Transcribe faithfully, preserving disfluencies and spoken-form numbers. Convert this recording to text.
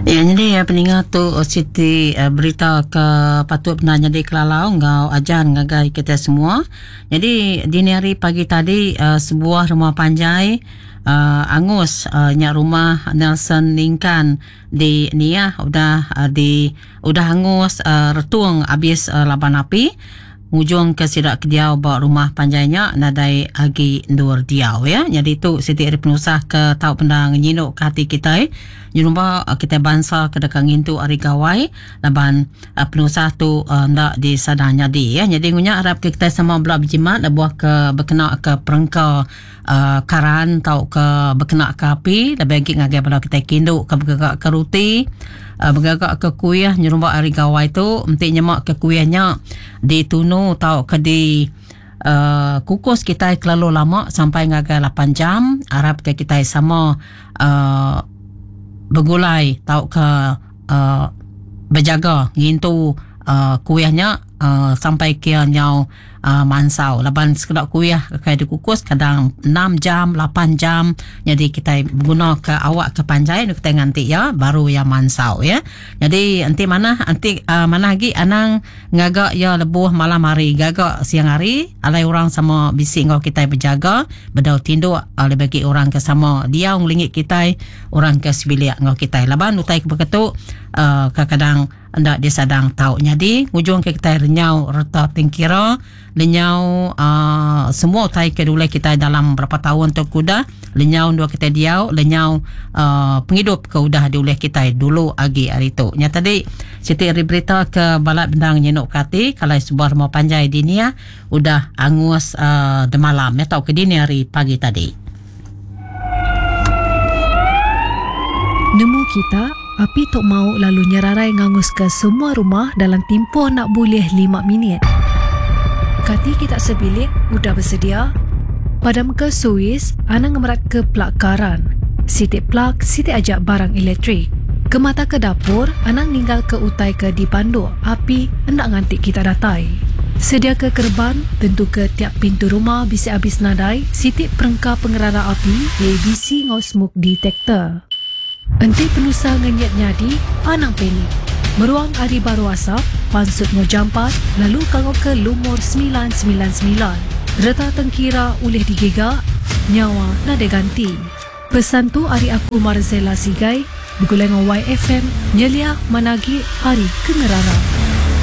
Ya, jadi ya, peninga tu siti uh, berita ke patut benar jadi kelalau ngau ajar ngagai kita semua. Jadi dini hari pagi tadi uh, sebuah rumah panjai uh, angus uh, nyak rumah Nelson Ningkan di Niah udah uh, di udah angus uh, retung habis uh, laban api. Ngujung ke sidak ke diau ba rumah panjainya nadai agi ndur diau ya. Jadi tu siti ari penusah ke tau pendang nyinuk ke hati kita. Nyerumba kita bangsa ke dekat ngintu ari gawai laban uh, penusah tu uh, ndak disadang jadi ya. Jadi ngunya harap ke kita sama belak berjimat lebuh ke berkena ke perengka uh, karan tau ke berkena ke api lebih lagi ngagai bala kita kinduk ke bergagak ke ruti uh, bergagak ke kuih nyerumba ari gawai tu entik nyemak ke kuihnya ditunu tau ke di Uh, kukus kita terlalu lama sampai ngagai lapan jam. Harap ke kita sama uh, bergulai tau ke uh, berjaga ngintu uh, kuihnya uh, sampai kia nyau uh, mansau. Laban sekedar kuih kai dikukus kadang enam jam, lapan jam. Jadi kita guna ke awak ke panjai kita nganti ya baru ya mansau ya. Jadi anti mana anti uh, mana lagi anang ngagak ya lebuh malam hari, gagak siang hari alai orang sama bisik ngau kita berjaga bedau tinduk uh, lebih bagi orang ke sama dia ngelingit kita orang ke sebilik ngau kita. Laban utai ke beketuk uh, kadang-kadang ndak disadang tau. Jadi ujung ke kita renyau reta tingkira lenyau uh, semua utai ke dulai kita dalam berapa tahun tu kuda lenyau dua kita diau lenyau uh, penghidup ke udah diulih kita dulu agi hari tu. Nya tadi siti ari berita ke balap bendang nyenuk kati kalau sebuah rumah panjai di Nia udah angus uh, demalam ya tau ke dini hari pagi tadi. Nemu kita api tok mau lalu nyerarai ngangus ke semua rumah dalam tempoh nak boleh lima minit. Kati kita sebilik udah bersedia. Padam ke suis, anang ngemerat ke plak karan. Sitik plak, sitik ajak barang elektrik. Ke mata ke dapur, anang ninggal ke utai ke dipanduk. Api hendak ngantik kita datai. Sedia ke kerban, tentu ke tiap pintu rumah bisa habis nadai, sitik perengka pengerara api, A B C ngau smoke detector. Enti penusah ngenyet nyadi, anang panik. Meruang ari baru asap, pansut ngau jampat, lalu kangau ke lumur sembilan sembilan sembilan. Reta tengkira ulih digiga, nyawa nadai ganti. Pesan tu ari aku Marzela Sigai, begulai ngau Y F M, nyelia managi ari kengerara.